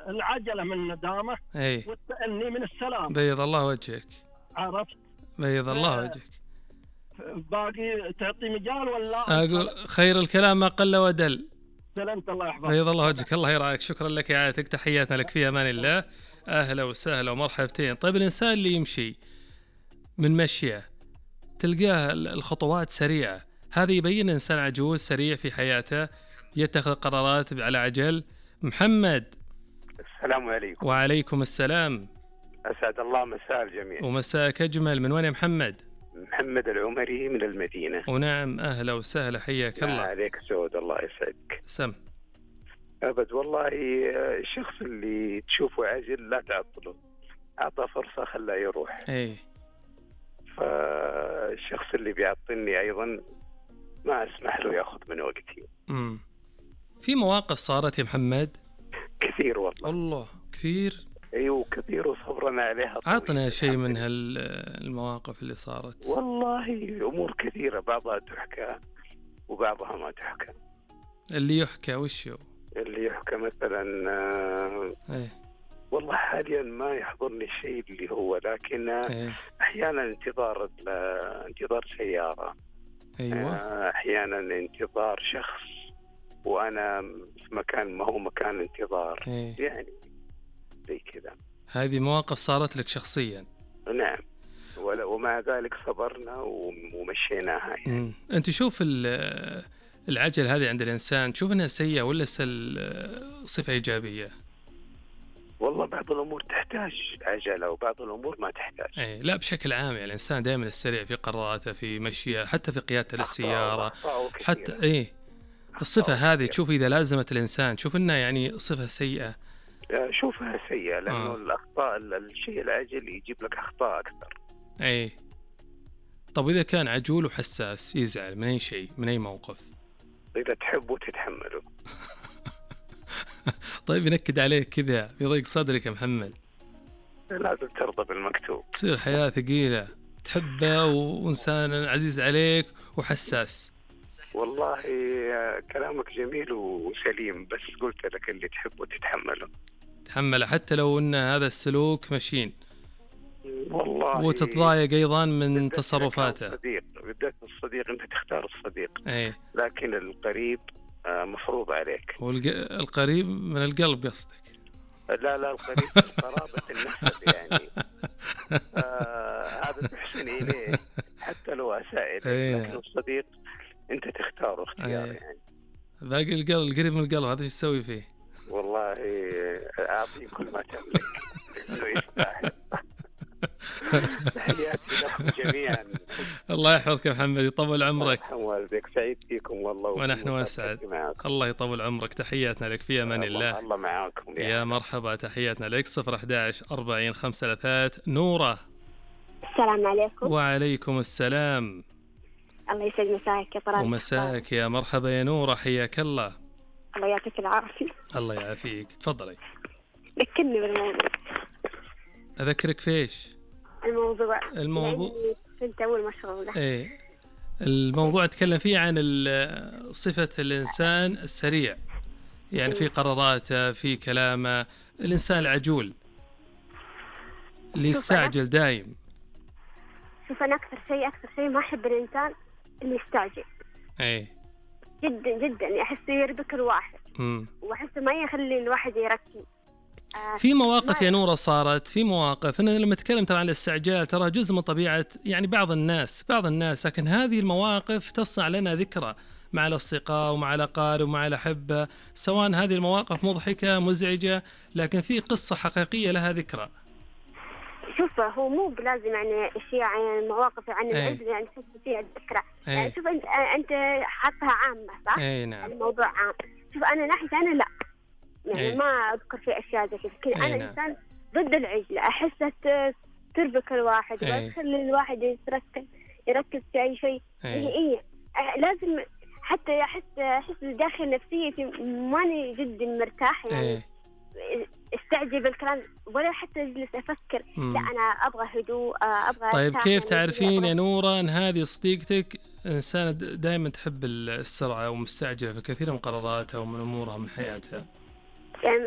العجلة من الندامة والتأني من السلام. بيض الله وجهك. عرفت؟ بيض الله وجهك. باقي تعطي مجال ولا؟ أقول خير الكلام ما قل ودل. سلامت، الله يحفظك. بيض الله وجهك، الله يرعاك، شكرا لك إعادتك، تحياتنا لك في أمان الله. أهلا وسهلا ومرحبتين. طيب الإنسان اللي يمشي من مشيه تلقاه الخطوات سريعة، هذا يبين إنسان عجوز سريع في حياته يتخذ قرارات على عجل. محمد. السلام عليكم. وعليكم السلام. أسعد الله مساء الجميع. ومساءك أجمل. من وين يا محمد؟ محمد العمري من المدينة. ونعم، أهلا وسهلا، حياك الله. عليك سعود، الله يسعدك. سم. أبد والله، الشخص اللي تشوفه عاجل لا تعطله، أعطى فرصة خلاه يروح. فالشخص اللي بيعطلني أيضا ما أسمح له يأخذ من وقتي. في مواقف صارت يا محمد؟ كثير والله. الله كثير. ايوه كثير وصبرنا عليها. عطنا شيء من هالمواقف اللي صارت. والله امور كثيره، بعضها تحكى وبعضها ما تحكى. اللي يحكى وش هو؟ اللي يحكى مثلا والله حاليا ما يحضرني الشيء اللي هو، لكن احيانا انتظار سياره. ايوه. احيانا انتظار شخص وانا في مكان ما هو مكان انتظار. يعني زي كذا. هذه مواقف صارت لك شخصيا؟ نعم، ومع ذلك صبرنا ومشيناها. يعني انت شوف العجل هذه عند الانسان تشوف انها سيئة ولا صفة ايجابية؟ والله بعض الامور تحتاج عجلة وبعض الامور ما تحتاج. لا بشكل عام يعني الانسان دائما السريع في قراراته، في مشيه، حتى في قيادته للسيارة، حتى الصفة هذه تشوف إذا لازمت الإنسان تشوف إنها يعني صفة سيئة؟ شوفها سيئة لأنه الأخطاء، الشيء العاجل يجيب لك أخطاء أكثر. طب إذا كان عجول وحساس يزعل من أي شيء، من أي موقف؟ إذا تحبه تتحمله. طيب ينكد عليك كذا يضيق صدرك يا محمد؟ لازم ترضى بالمكتوب. تصير حياة ثقيلة، تحبه وإنسان عزيز عليك وحساس. والله كلامك جميل وسليم، بس قلت لك اللي تحبه تتحمله حتى لو ان هذا السلوك مشين. والله وتتضايق ايضا من تصرفاته. بالذات الصديق انت تختار الصديق. لكن القريب مفروض عليك. القريب من القلب قصدك؟ لا القريب قرابة النسب يعني. هذا تحسن اليه حتى لو اساء اليك. لكن الصديق انت تختاره اختيار. يعني باقي القلب، القريب من القلب، هذا ايش تسوي فيه؟ والله اعطيه كل ما تملك انه يستاهل. تحياتي لكم جميعا. الله يحفظك يا محمد، يطول عمرك. والديك، سعيد فيكم والله. ونحن اسعد. الله يطول عمرك، تحياتنا لك في امان الله. الله معاكم يا مرحبا، تحياتنا لك. 011 40 533. نورة. السلام عليكم. وعليكم السلام. الله يسعد مساك يا طلال. ومساك يا مرحبا يا نورة، حياك الله. الله يعطيك العافية. الله يعافيك، تفضلي. ذكرني بالموضوع. أذكرك فيش؟ الموضوع كنت أول مشغولة. الموضوع أتكلم فيه عن صفة الإنسان السريع، يعني في قراراته، في كلامه، الإنسان العجول اللي يستعجل دايم. شوف أنا أكثر شيء ما أحب الإنسان اللي يستعجل. جدا جدا أحسه يربك الواحد. وأحسه ما يخلي الواحد يركز. في مواقف يا نورة صارت، في مواقف أنا لما أتكلم ترى عن الاستعجال ترى جزء من طبيعة يعني بعض الناس، لكن هذه المواقف تصنع لنا ذكرى مع الأصدقاء ومع الأقارب ومع الأحبة، سواء هذه المواقف مضحكة مزعجة، لكن في قصة حقيقية لها ذكرى. شوف هو مو بلازم يعني اشياء يعني مواقف عن العزل يعني تحس فيها الذكرى. يعني شوف انت حاطها عامة صح؟ نعم. الموضوع عام. شوف انا ناحية انا لا يعني ما اذكر في اشياء زي كذا، لكن انا انسان ضد العجلة، احسها تربك الواحد وتخلي الواحد يركز في اي شيء. لازم حتى احس داخل نفسيتي ماني جدا مرتاح يعني. استعجل بالكلام ولا حتى اجلس افكر. لا انا ابغى هدوء، ابغى. طيب كيف تعرفين يا نورة ان هذه صديقتك انسانة دائما تحب السرعة ومستعجلة في كثير من قراراتها ومن امورها من حياتها؟ يعني